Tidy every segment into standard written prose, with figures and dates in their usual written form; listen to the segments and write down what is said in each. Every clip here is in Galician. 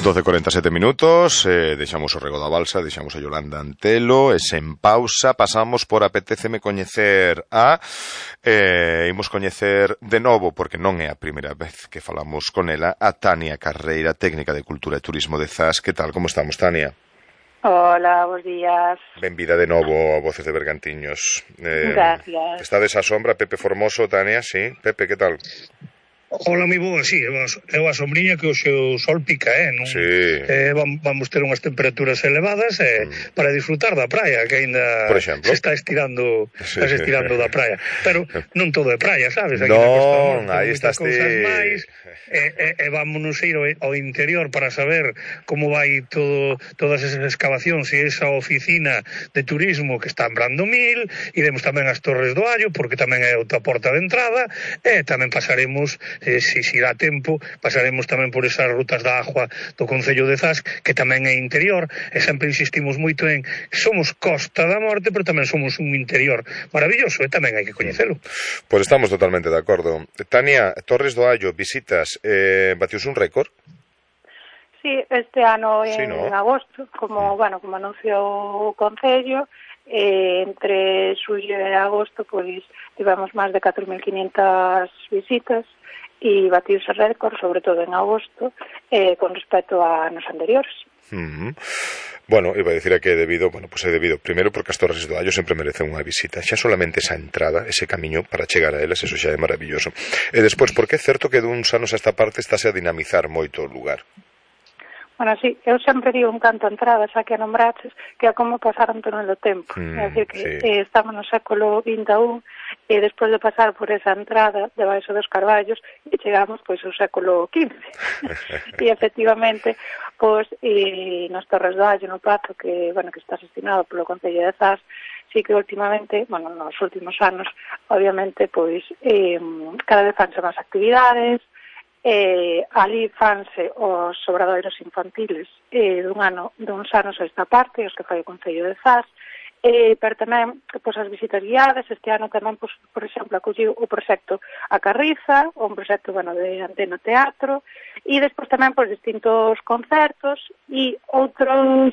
12:47 minutos, deixamos o Rego da Balsa, deixamos a Yolanda Antelo, e sen pausa pasamos por Apetéceme coñecer imos coñecer de novo, porque non é a primeira vez que falamos con ela, a Tania Carreira, técnica de Cultura e Turismo de Zas. Que tal, como estamos, Tania? Hola, bons días. Benvida de novo a Voces de Bergantiños. Gracias. Estades á sombra, Pepe Formoso, Tania, sí? Pepe, que tal? Hola, mi boa, sí, é a sombriña que o seu sol pica, non? Sí. Vamos ter unhas temperaturas elevadas para disfrutar da praia, que aínda se está estirando, sí. Da praia. Pero non todo é praia, sabes? Aquí non, aí estás ti. Vámonos ir ao interior para saber como vai todas esas excavacións e esa oficina de turismo que está en Brandomil. Iremos tamén ás Torres do Allo, porque tamén é outra porta de entrada, e tamén pasaremos, si dá tempo, pasaremos tamén por esas rutas da agua do Concello de Zas, que tamén é interior, e sempre insistimos moito en somos Costa da Morte, pero tamén somos un interior maravilloso, e tamén hai que coñecelo. Pois estamos totalmente de acordo. Tania, Torres do Allo, visitas, batius un récord? Sí, este ano en agosto, como anunciou o Concello, entre xullo e agosto, pois tivemos máis de 4.500 visitas, e batiuse récord, sobre todo en agosto, con respecto a anos anteriores. Bueno, iba a dicir que é debido, primeiro porque as Torres do Allo sempre merecen unha visita, xa solamente esa entrada, ese camiño para chegar a elas, eso xa é maravilloso. E despois, porque é certo que duns anos a esta parte estáse a dinamizar moito o lugar. Bueno, sí, eu sempre digo un canto a entrada, xa que a nombraches, que é como pasaron todo o tempo. É dicir, que estamos no século XXI, e despois de pasar por esa entrada debaixo dos carballos, e chegamos pois ao século XV. E efectivamente, pois, nos Torres do Allo, no Pazo, que está destinado polo Concello de Zas, sí que últimamente, nos últimos anos, obviamente, pois, cada vez fanse máis actividades, ali fanse os obradoiros infantiles duns anos a esta parte, os que fai o Concello de Zas, pero tamén as visitas guiadas. Este ano tamén, por exemplo, acolliu o proxecto A Carriza, un proxecto de Antena Teatro, e despois tamén distintos concertos e outras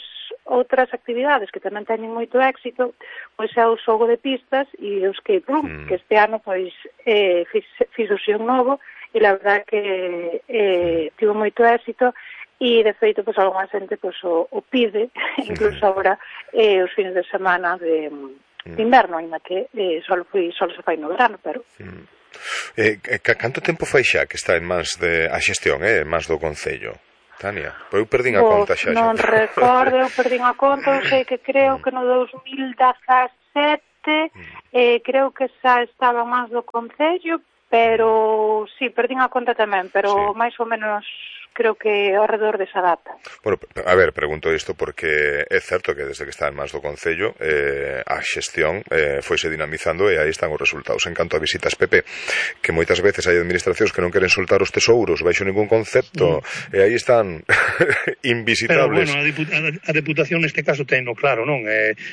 actividades que tamén teñen moito éxito, pois é o xogo de pistas e o escape room, que este ano fixose un novo, e la verdad que tivo moito éxito, e de feito algunha xente o pide, incluso agora os fines de semana de inverno, ainda que só se fai no verano, pero... Canto tempo fai xa que está en mans a xestión, en mans do Concello, Tania? Eu perdín a conta xa. Non recordo, eu perdín a conta, eu sei que creo que no 2017 creo que xa estaba máis do Concello, pero sí, perdín a conta tamén, pero máis ou menos creo que ao redor desa data. Bueno, a ver, pregunto isto porque é certo que desde que está en mans do Concello a xestión foise dinamizando e aí están os resultados. En canto a visitas, Pepe, que moitas veces hai administracións que non queren soltar os tesouros baixo ningún concepto e aí están invisitables. Pero, bueno, a Deputación neste caso tenno claro, non?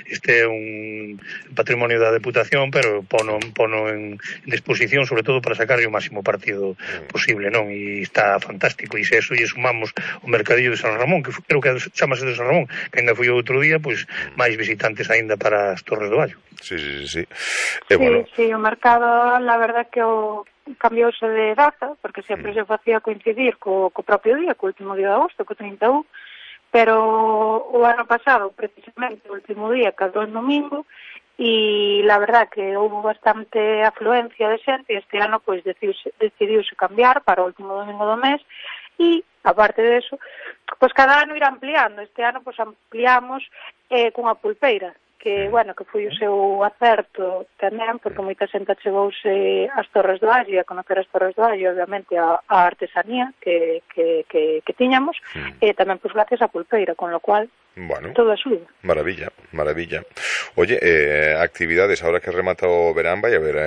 Este é un patrimonio da Deputación, pero pono en disposición, sobre todo para sacarlle o máximo partido posible, non? E está fantástico, e se eso e sumamos o mercadillo de San Ramón, que creo que chamase de San Ramón, que ainda foi outro día, pois máis visitantes ainda para as Torres do Allo. Sí. Sí, o mercado, la verdad que cambiouse de data, porque sempre se facía coincidir co propio día, co último día de agosto, co 31, pero o ano pasado, precisamente, o último día, cadou en domingo, e la verdad que houve bastante afluencia de xente, e este ano pois decidiuse cambiar para o último domingo do mes, e, aparte de eso, pois cada ano irá ampliando. Este ano pois ampliamos cunha pulpeira, que foi o seu acerto tamén, porque moita xente chegouse ás Torres do Allo, a conocer as Torres do Allo, obviamente a artesanía que tiñamos, e tamén pois gracias á pulpeira, con lo cual todo axuda. Maravilla. Oye, actividades, ahora que remata o verán, vai haber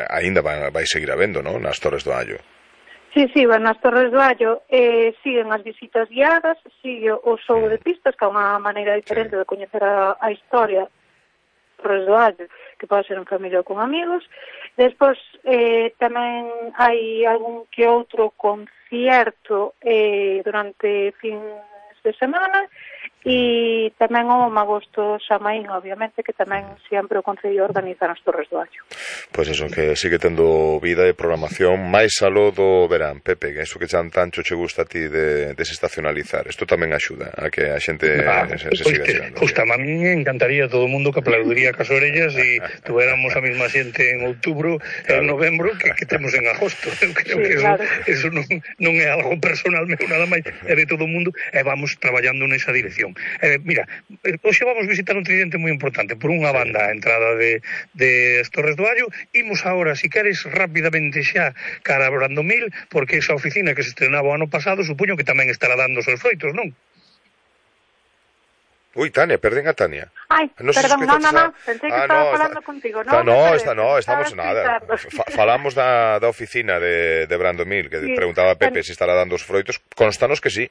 aínda vai seguir habendo, non? Nas Torres do Allo. Sí, nas Torres do Allo siguen as visitas guiadas, sigue o xogo de pistas, que é unha maneira diferente de coñecer a historia Torres do Allo, que pode ser en familia ou con amigos. Despois tamén hai algún que outro concierto durante fins de semana, e tamén o Magosto Xamaín, obviamente, que tamén sempre o Concello organiza nas Torres do Allo. Pois eso, que sigue tendo vida e programación máis aló do verán, Pepe, que eso que tanto che gusta a ti de desestacionalizar. Isto tamén axuda a que a xente se siga chegando. Justa, a mí me encantaría todo o mundo que aplaudiría cas orellas e tuéramos a mesma xente en outubro e en novembro que temos en agosto. Eu creo que eso non é algo personal meu nada máis, é de todo o mundo, e vamos traballando nesa dirección. Mira, hoxe vamos visitar un tridente moi importante. Por unha banda, a entrada de Torres do Allo. Imos agora, si queres, rapidamente xa cara a Brandomil, porque esa oficina que se estrenaba o ano pasado, supoño que tamén estará dando os seus froitos, non? Uy, Tania, perden a Tania. Ay, perdón, no, pensei que estaba falando contigo. Estamos nada. Falamos da oficina de Brandomil, que preguntaba a Pepe se estará dando os froitos. Constanos que sí.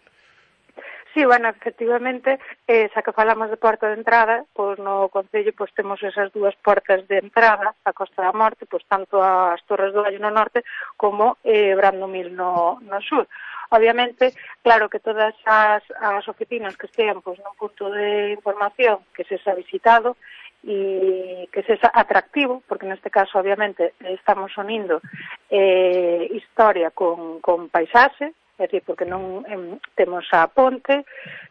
Sí, bueno, efectivamente, xa que falamos de porta de entrada, pois no Concello pois temos esas dúas portas de entrada a Costa da Morte, pois tanto as Torres do Allo no norte como Brandomil no sur. Obviamente, claro que todas as oficinas que estean pois nun punto de información que se xa visitado e que se xa atractivo, porque neste caso, obviamente, estamos unindo historia con paisaxe, é dicir, porque non temos a ponte,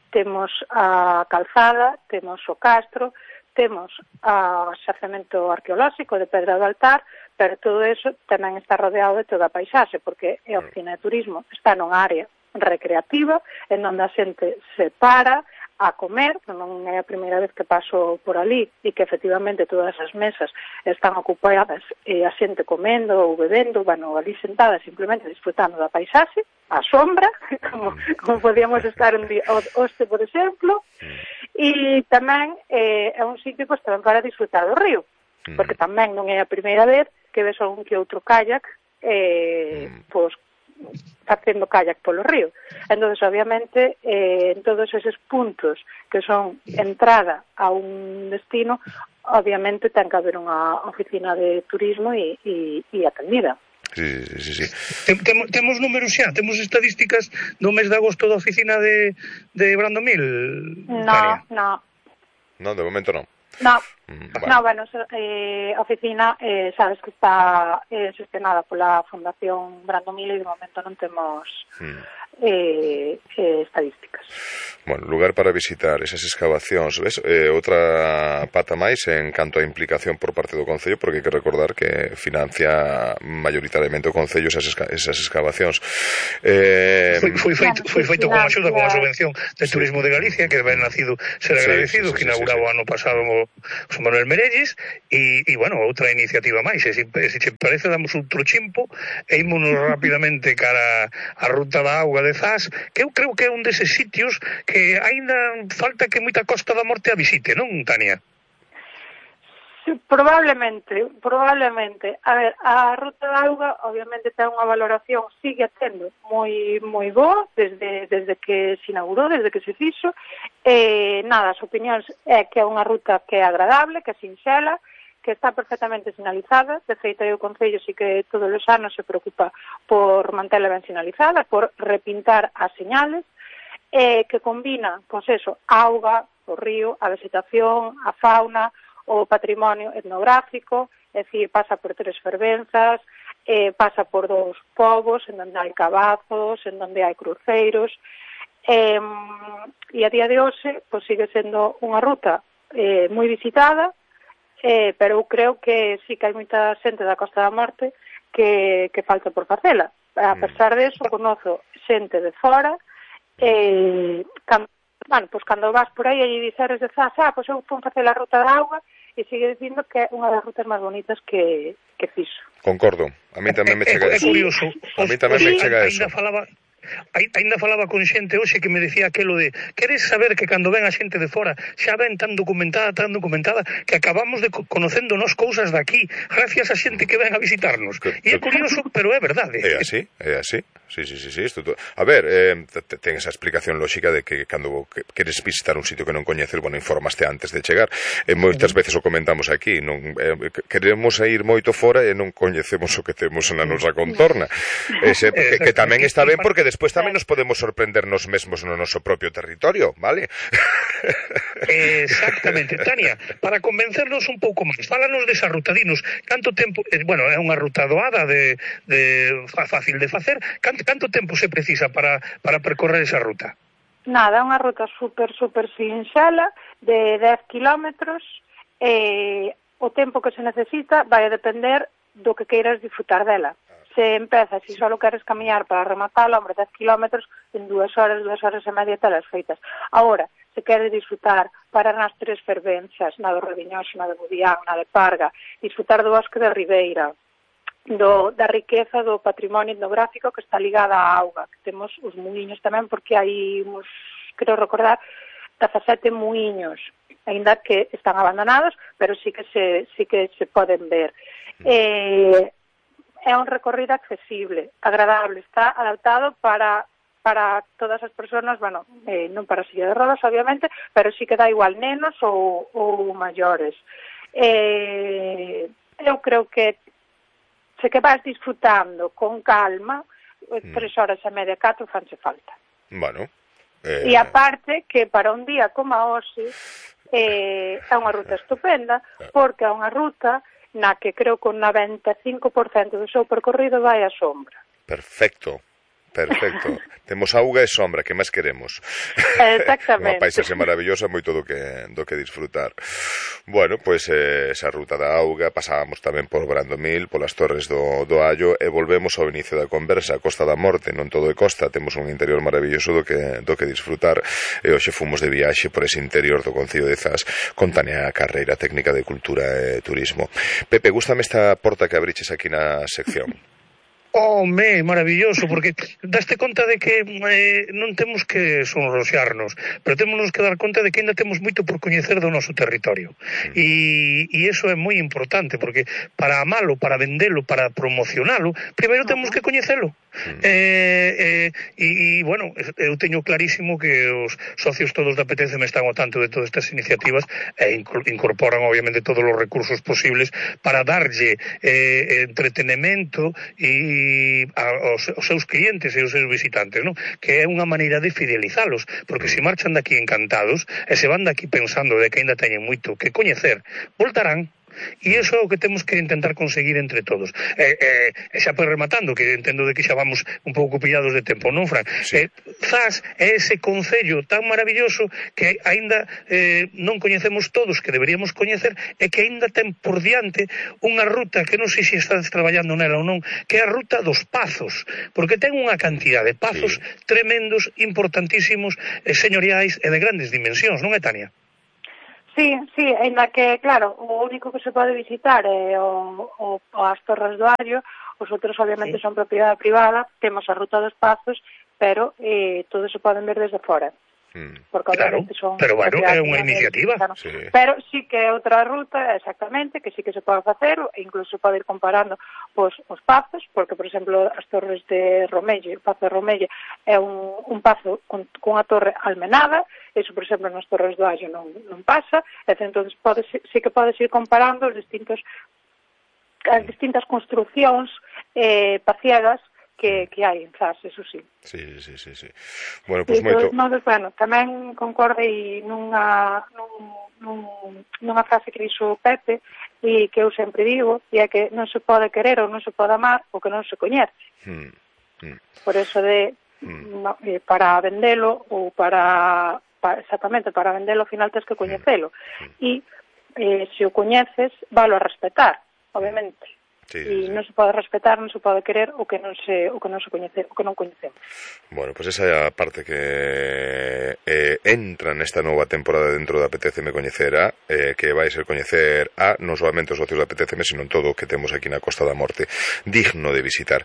temos a calzada, temos o castro, temos o xacemento arqueolóxico de Pedra do Altar, pero todo eso tamén está rodeado de toda a paisaxe, porque a oficina de turismo está nunha área recreativa, en onde a xente se para a comer, non é a primeira vez que paso por ali, e que efectivamente todas as mesas están ocupadas e a xente comendo ou bebendo, bueno, ali sentada simplemente disfrutando da paisaxe, a sombra, como podíamos estar en Oste, por exemplo, e tamén é un sitio pois, tamén para disfrutar do río, porque tamén non é a primeira vez que ves algún que outro kayak pois facendo kayak polo río. Entonces, obviamente, en todos eses puntos que son entrada a un destino, obviamente ten que haber unha oficina de turismo e atendida. Sí. Temos números xa, temos estadísticas do mes de agosto da oficina de Brandomil? No, de momento non. Bueno, a oficina sabes que está gestionada pola Fundación Brandomil e de momento non temos estadísticas. Bueno, lugar para visitar esas excavacións, ves? Outra pata máis en canto a implicación por parte do Concello, porque hai que recordar que financia maioritariamente o Concello esas excavacións. Foi feito con axuda, con a subvención de Turismo de Galicia, que ben nacido ser agradecido, que inauguraba o ano pasado o Manuel Merelles, e bueno, outra iniciativa máis. Se che parece, damos outro chimpo e ímonos rapidamente cara a Ruta da Auga de Zas, que eu creo que é un deses sitios que aínda falta que moita Costa da Morte a visite, non, Tania? Sí, probablemente. A ver, a Ruta da Auga obviamente ten unha valoración, sigue tendo moi boa desde que se inaugurou, desde que se fixo. As opinións é que é unha ruta que é agradable, que é sinxela, que está perfectamente sinalizada. De feito, o Concello sí que todos os anos se preocupa por mantela ben sinalizada, por repintar as señales, que combina, pois eso, auga, o río, a vegetación, a fauna, o patrimonio etnográfico, é dicir, pasa por 3 fervenzas, pasa por 2 povos, en donde hai cabazos, en donde hai cruceiros, e a día de hoxe, pois sigue sendo unha ruta moi visitada, pero eu creo que sí que hai moita xente da Costa da Morte que falta por facela. A pesar de eso, conozo xente de fora, cando vas por aí e diceres de Zas, pois eu fui facer a Ruta da Auga, e sigue dicindo que é unha das rutas máis bonitas que fixo. Concordo, a mí tamén me chega eso. É curioso. A mí tamén me chega eso. Ainda falaba con xente hoxe que me decía aquelo de queres saber que cando ven a xente de fora xa ven tan documentada que acabamos de conocéndonos cousas daqui gracias a xente que ven a visitarnos. E é curioso, pero é verdade. É así. Sí. A ver, ten esa explicación lógica de que cando queres visitar un sitio que non coñeces, bueno, informaste antes de chegar. Moitas veces o comentamos aquí, non queremos ir moito fora e non coñecemos o que temos na nosa contorna. Que tamén está ben porque despois tamén nos podemos sorprender nos mesmos no noso propio territorio, vale? Exactamente. Tania, para convencernos un pouco máis, fálanos desa ruta, dinos, canto tempo, bueno, é unha ruta doada fácil de facer, canto tempo se precisa para percorrer esa ruta? Nada, é unha ruta super sinxela de 10 kilómetros, o tempo que se necesita vai a depender do que queiras disfrutar dela. Se empezas e só queres camiñar para rematar, hombre, 10 kilómetros en 2 horas e media telas feitas. Agora, se queres disfrutar, parar nas 3 fervenzas, na do Rediñoso, na de Budián, na de Parga, disfrutar do bosque da Ribeira, da riqueza do patrimonio etnográfico que está ligada á auga, que temos os muiños tamén, porque hai uns, creo recordar, 17 muiños, aínda que están abandonados, pero sí que se poden ver. É un recorrido accesible, agradable, está adaptado para todas as persoas, bueno, non para silla de rodas, obviamente, pero sí que dá igual nenos ou maiores. Eu creo que se que vas disfrutando con calma, 3 horas e media, 4 fanse falta. Bueno. E aparte que para un día como hoxe é unha ruta estupenda, porque é unha ruta na que creo que un 95% do seu percorrido vai á sombra. Perfecto. Temos auga e sombra, que máis queremos? Exactamente. Unha paisaxe maravillosa, moito do que disfrutar. Bueno, pois esa ruta da auga, pasábamos tamén por Brandomil, polas Torres do Allo, e volvemos ao inicio da conversa, a Costa da Morte, non todo é costa, temos un interior maravilloso do que disfrutar, e hoxe fomos de viaxe por ese interior do Concello de Zas, con Tania Carreira, técnica de Cultura e Turismo. Pepe, gústame esta porta que abriches aquí na sección. Maravilloso, porque daste conta de que non temos que sonroxarnos, pero temos que dar conta de que ainda temos moito por coñecer do noso territorio. E iso é moi importante, porque para amalo, para vendelo, para promocionalo, primeiro temos que coñecelo. Bueno, eu teño clarísimo que os socios todos da PTCM están ao tanto de todas estas iniciativas e incorporan obviamente todos os recursos posibles para darlle entretenimento e aos seus clientes e aos seus visitantes, non? Que é unha maneira de fidelizalos, porque se marchan daqui encantados e se van daqui pensando de que ainda teñen moito que coñecer, voltarán. E iso é o que temos que intentar conseguir entre todos. Xa por rematando, que entendo de que xa vamos un pouco pillados de tempo, non, Fran? Sí. Zas é ese concello tan maravilloso que aínda non coñecemos todos, que deberíamos coñecer, e que aínda ten por diante unha ruta que non sei se estás traballando nela ou non, que é a ruta dos Pazos, porque ten unha cantidad de pazos tremendos, importantísimos, señoriais e de grandes dimensións, non é, Tania? Sí, ainda que, claro, o único que se pode visitar é as Torres do Allo, os outros obviamente son propiedade privada, temos a Ruta dos Pazos, pero todos se poden ver desde fora. Porque obviamente son... Pero bueno, é unha iniciativa. Sí. Pero sí que é outra ruta, exactamente, que sí que se pode facer, e incluso pode ir comparando os pazos, porque, por exemplo, as Torres de Romelle, o Pazo de Romelle é un pazo con a torre almenada, eso, por exemplo, nas Torres do Allo non pasa, e entón sí que podes ir comparando as distintas construcións paciegas que hai en Zas, eso sí. Sí. Bueno, pois moito... Bueno, tamén concorde nunha frase que dixo Pepe e que eu sempre digo, e é que non se pode querer ou non se pode amar o que non se coñece. Por eso para vendelo ou exactamente, para vendelo ao final tens que coñecelo. E se o coñeces, valo a respetar, obviamente. e non se pode respetar, non se pode querer o que non coñecemos. Bueno, pues esa é a parte que entra nesta nova temporada dentro da Apeteceme Coñecer A, que vai ser coñecer a non solamente os socios da Apeteceme, senón todo o que temos aquí na Costa da Morte, digno de visitar.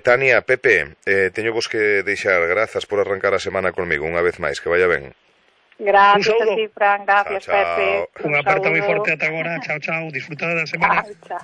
Tania, Pepe, teño vos que deixar, grazas por arrancar a semana conmigo unha vez máis, que vaya ben. Gracias a ti, Fran, gracias, chao. Pepe. Unha aperta moi forte ata agora, chao, disfrutad da semana. Chao.